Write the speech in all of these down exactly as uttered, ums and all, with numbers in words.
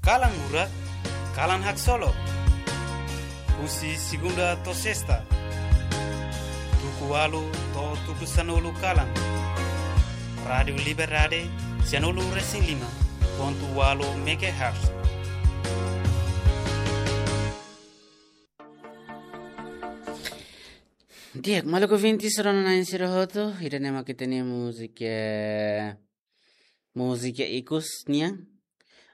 Kalan Murak, kalan haksolok. Husi segunda to'o sesta, tuku ualu to'o tuku sanulu kalan. Rádiu Liberdade, sianulu resin lima pontu ualu megahertz. Di'ak, maluk ouvinte sira-ne'e sira hotu, ida-ne'e mak ita-nia múzika, múzika ikus nian.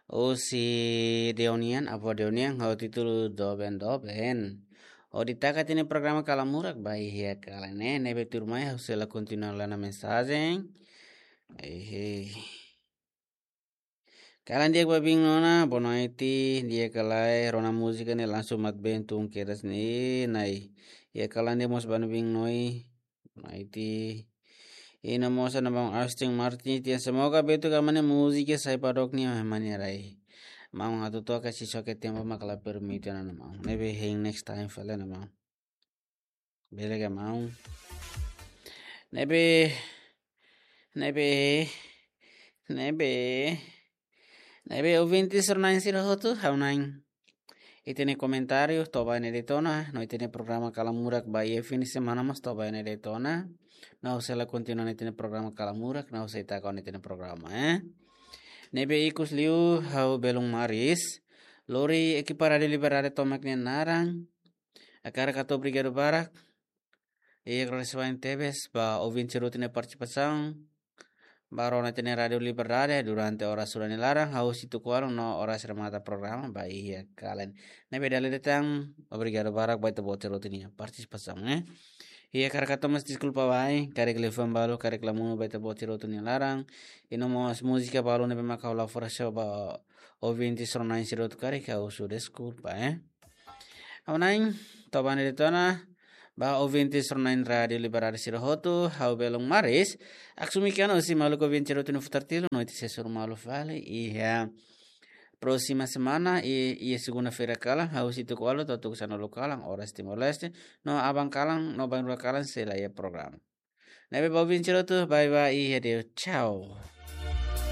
Husi Deonian, avó Deonian, ho títulu Doben Doben. Hodi taka tiha ona programa Kalan Murak ba iha kalan ne'e, ne'ebé tuirmai ha'u sei la kontinua ona mensajen. Ehe. Kalan di'ak ba biin ona, bonoite, di'ak ka lae, rona múzika ne'e langsung mat been tun kedas ne'e, nai. Iha kalan di'ak mós ba biin Noi, bonoite. I no mós ona maun Austin Martin, tiha semoga betu ka mane múzika sai padok ni mane rai. Maun atu toka si soke tempu mak la permite ona maun. Ne'ebé hein next time fali ona maun. Bele ka maun. Ne'ebé, ne'ebé, ne'ebé, ne'ebé ouvinte sira-ne'e sira hotu, ha'u-nia ita-nia komentáriu to'o ba ne'e de'it ona, no ita-nia programa Kalan Murak ba iha fim de semana mós to'o ba ne'e de'it ona. No ha'u sei la kontinua ita-nia programa Kalan Murak, no ha'u sei taka ona ita-nia programa, eh. Ne'ebé ikus liu ha'u belun Maris, lori ekipa Rádiu Liberdade tomak nia naran, hakarak hato'o obrigadu barak. I agradese tebes ba ouvinte sira hotu nia partisipasaun. Ba rona ita-nia Rádiu Liberdade durante oras sira nia laran, hahú husi tuku ualu no oras remata programa ba iha kalan. Ne'ebé dala ida tan, obrigadu barak ba ita-boot sira hotu nia partisipasaun, eh. I hakarak hato'o mós deskulpa ba ai, karik liafuan balu, karik la monu ba ita-boot sira hotu nia laran. I no mós múzika balu ne'ebé mak ha'u la fó só ba ouvinte sira-ne'e sira hotu karik ha'u husu deskulpa, eh. Ha'u-nia, to'o ba ne'e de'it ona, ba ouvinte sira-ne'e Rádiu Liberdade sira hotu, ha'u belun Maris, haksolok ona husi maluk ouvinte sira hotu nia futar tilu, noite sesur malu fali, iha próxima semana, i, iha segunda-feira kalan, hahú husi tuku ualu to'o tuku sanulu kalan, oras Timor-Leste, no aban kalan, no bainrua kalan, sei la iha programa. Ne'ebé ba ouvinte sira hotu, bye bye, i adeus, tchau.